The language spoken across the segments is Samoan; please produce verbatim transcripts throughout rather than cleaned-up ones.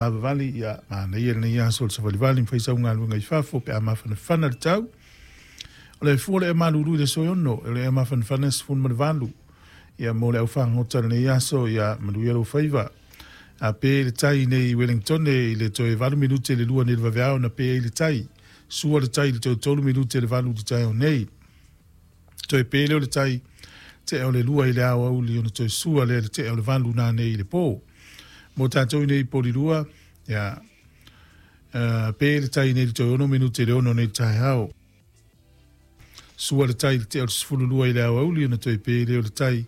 Vavali ia manaia lenei aso o le savalivali ma fai sau galuega i fafo pe a mafanafana le tau. O le fua o le ea malulu i le aso e ono, o le ea mafanafana e sefulu ma le valu. Ia mo le aufagota lenei aso, ia manuia lou faiva. A pe le tai nei i Wellington i le toe valu minute le lua nei le vaveao na pe ai le tai. Sua le tai i le toe tolu minute le valu i le taeao nei. Toe pe lea o le tai tea o le lua i le aoauli ona toe sua lea i le tea o le valu nanei i le po. Mo tatou nei i Polilua, ia, uh, pe le tai nei i le toe ono minute le ono nei le taeao. Sua le tai i le tea o le sefulu lua i le aoauli ona toe pe lea o le tai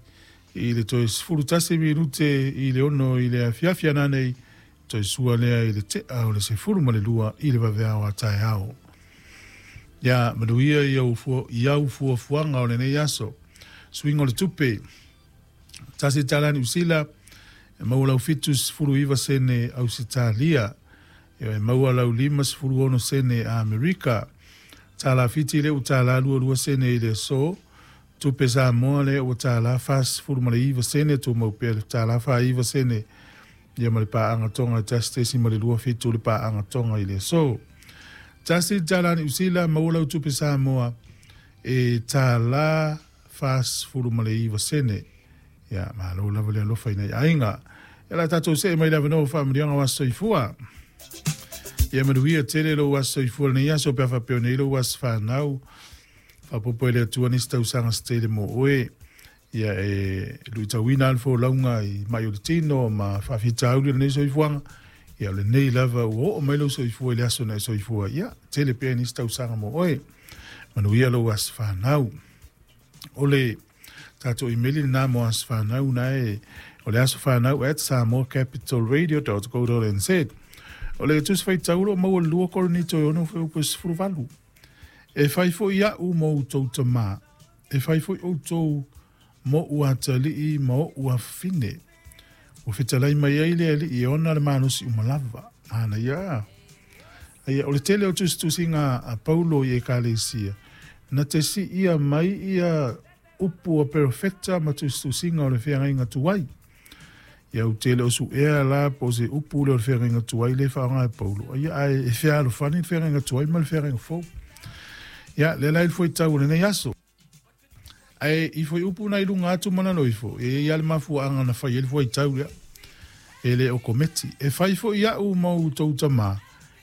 i le toe sefulu tasi minute i le ono i le afiafi ananei, toe sua lea i le tea o le sefulu ma le lua i le vaveao a taeao. Ia manuia i au fua, i au fuafuaga o lenei aso. Suiga o le tupe. Tasi tala Niu Sila, e maua lau fitu sefulu iva sene Ausetalia, e maua lau lima sefulu ono sene Amerika. Tala Fiti le ua tala lua lua sene i le aso. Tupe Samoa le ua tala fa sefulu ma le iva sene, tumau pea le tala fa iva sene. Ia ma le paaga Tonga e tasi tesi ma le lua fitu le paaga Tonga i le aso. Tasi tala Niu Sila, maua lau tupe Samoa e tala fa sefulu ma le iva sene. Ia, malo lava le alofa i nai aiga. E la tatou see mai le avanoa o faamanuiaga o aso soifua. Ia manuia tele lou aso soifua lenei aso pe a faapea nei lou aso fanau. Faapopo e le Atua nisi tausaga se tele mo oe. Ia e luitauina le folauga i mai o le tino ma faafitauli o lenei soifuaga. Ia o lenei lava ua oo mai lou soifua i le aso na e soifua. Ia tele pea nisi tausaga mo oe. Manuia lou aso fanau. O le tatou imeli lena mo aso fanau na e o le aso fanau at samoa capital radio dot co dot nz. O le tusi faitau o maua le lua Korinito e ono fuaiupu e sefulu valu. E fai foi a'u mo outou tamā, e fai foi outou mo ou atalii ma o'u afafine. Ua fetalai mai ai le Alii e ona le malosi uma lava. Manaia. Aia, o le tele o tusitusiga a Paulo i Ekalesia, na te siia mai ia upu a perofeta ma tusitusiga o le feagaiga tuai. Ia ou te le o su'ea la po o se upu lea o le feagaiga tuai lea e faaaoga e Paulo. Aia, ae e fealofani le feagaiga tuai ma le feagaiga fou. Ia, lea la i le fuaitau o lenei aso. Ae i fuaiupu na i luga atu ma lalo ifo, e i ai lava le mafuaaga na fai ai le fuaitau lea. E le o kometi. E fai foi a'u ma outou tamā,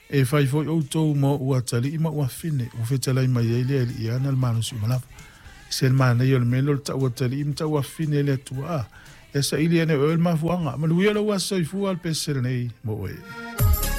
e fai foi outou ma o'u atalii ma o'u afafine, ua fetalai mai ai le Alii e ana le malosi uma lava. Se le manaia o le mea lea o le tau atalii ma tau afafine e le Atua. A, ia saili ane e oe le mafuaaga. Manuia lou aso soifua le pese lenei mo oe.